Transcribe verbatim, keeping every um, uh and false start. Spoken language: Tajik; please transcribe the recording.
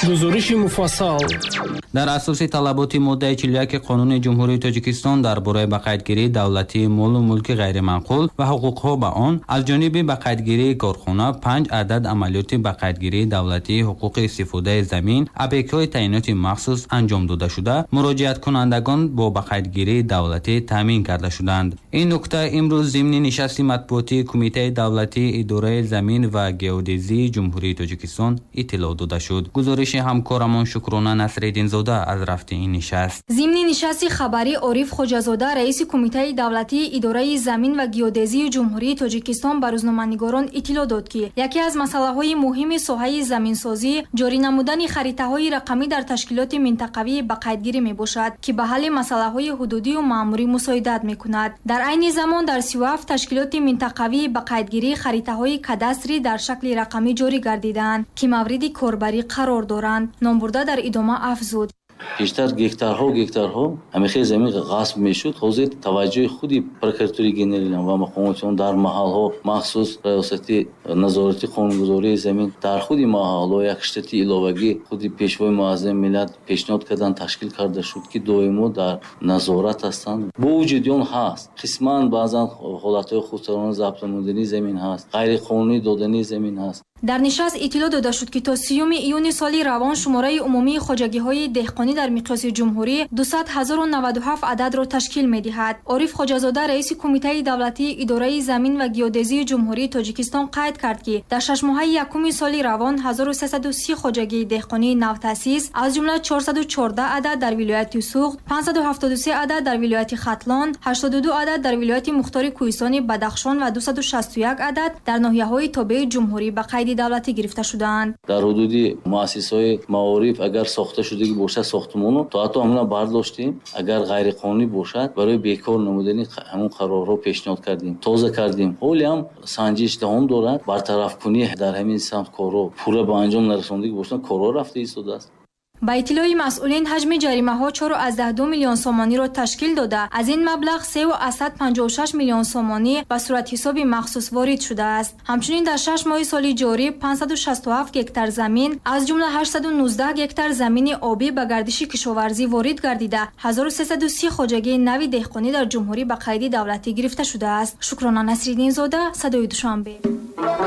Гузориши муфассал. Дар асоси талаботи моддаи чилу як Қонуни Ҷумҳурии Тоҷикистон дар бораи ба қайдгирии давлатии молу мулки ғайриманқул ва ҳуқуқҳо ба он, аз ҷониби ба қайдгирии корхона панҷ адад амалиёти ба қайдгирии давлатии ҳуқуқи истифодаи замин, объектҳои таъиноти махсус анҷом дода шуда, муроҷиаткунандагон бо ба қайдгирии давлатӣ таъмин карда шуданд. Ин нукта имрӯз зимни нишасти матбуотии Кумитаи давлатии идораи замин ва геодезии Ҷумҳурии Тоҷикистон иттилоъ дода шуд. Гузориши ҳамкорамон Шукрона Насриддинзода аз рафти ин нишаст. Зимни нишасти хабарӣ Ориф Хоҷазода, раиси Кумитаи давлатии идораи замин ва геодезии Ҷумҳурии Тоҷикистон, ба рӯзноманигорон иттилоъ дод, ки яке аз масъалаҳои муҳими соҳаи заминсозӣ ҷорӣ намудани харитаҳои рақамӣ дар ташкилоти минтақавии ба қайдгирӣ мебошад, ки ба ҳалли масъалаҳои ҳудудию маъмурӣ мусоидат мекунад. Дар айни замон дар сию ҳафт ташкилоти минтақавии ба қайдгирӣ харитаҳои кадастрӣ дар шакли рақамӣ ҷорӣ гардидаанд, ки мавриди корбарӣ қарор доранд. Номбурда дар идома афзуд: Пештар гектарҳо гектарҳо ҳамихел замин ғасб мешуд. Ҳозир таваҷҷӯҳи худи прокуратураи генералӣ ва мақомоти он дар маҳалҳо, махсус раёсати назорати қонунгузории замин дар худи маҳалҳо як штати иловагӣ худи Пешвои муаззами миллат пешниҳод кардан, ташкил карда шуд, ки доимо дар назорат ҳастанд. Бо вуҷуди он ҳаст қисман баъзан ҳолатҳои худсарона забт намудани замин ҳаст, ғайриқонунӣ додани замин ҳаст. Дар нишаст иттилоъ дода шуд, ки то сиюми июни соли равон шумораи умумии хоҷагиҳои деҳқонӣ дар миқёси ҷумҳурӣ дусад ҳазору наваду ҳафт ададро ташкил медиҳад. Ориф Хоҷазода, раиси Кумитаи давлатии идораи замин ва геодезии Ҷумҳурии Тоҷикистон, қайд кард, ки дар шашмоҳаи якуми соли равон ҳазору сесаду си хоҷагии деҳқонии навтаъсис, аз ҷумла чорсаду чордаҳ адад дар вилояти Суғд, панҷсаду ҳафтоду се адад дар вилояти Хатлон, ҳаштоду ду адад дар вилояти Мухтори Кӯҳистони Бадахшон ва дусаду шасту як адад дар ноҳияҳои тобеи ҷумҳурӣ ба қайди давлатӣ гирифта шудаанд. Дар ҳудуди муассисаҳои маориф агар сохта шудагӣ бошад сохтмону, то ҳатто ҳамона бардоштем, агар ғайриқонунӣ бошад, барои бекор намудани ҳамон қарорҳо пешниҳод кардем, тоза кардем. Ҳоле ҳам санҷиш давом дорад, бартарафкунӣ дар ҳамин самт корҳо пурра ба анҷом нарасондагӣ бошанд, корҳо рафта истодааст. Ба иттилои масъулин, ҳаҷми ҷаримаҳо чору аз даҳ ду миллион сомониро ташкил дода, аз ин маблағ сеу аз сад панҷоҳу шаш миллион сомонӣ ба суратҳисоби махсус ворид шудааст. Ҳамчунин дар шаш моҳи соли ҷорӣ панҷсаду шасту ҳафт гектар замин, аз ҷумла ҳаштсаду нуздаҳ гектар замини обӣ ба гардиши кишоварзӣ ворид гардида, ҳазору сесаду си хоҷагии нави деҳқонӣ дар ҷумҳурӣ ба қайди давлатӣ гирифта шудааст. Шукрона Насриддинзода, Садои Душанбе.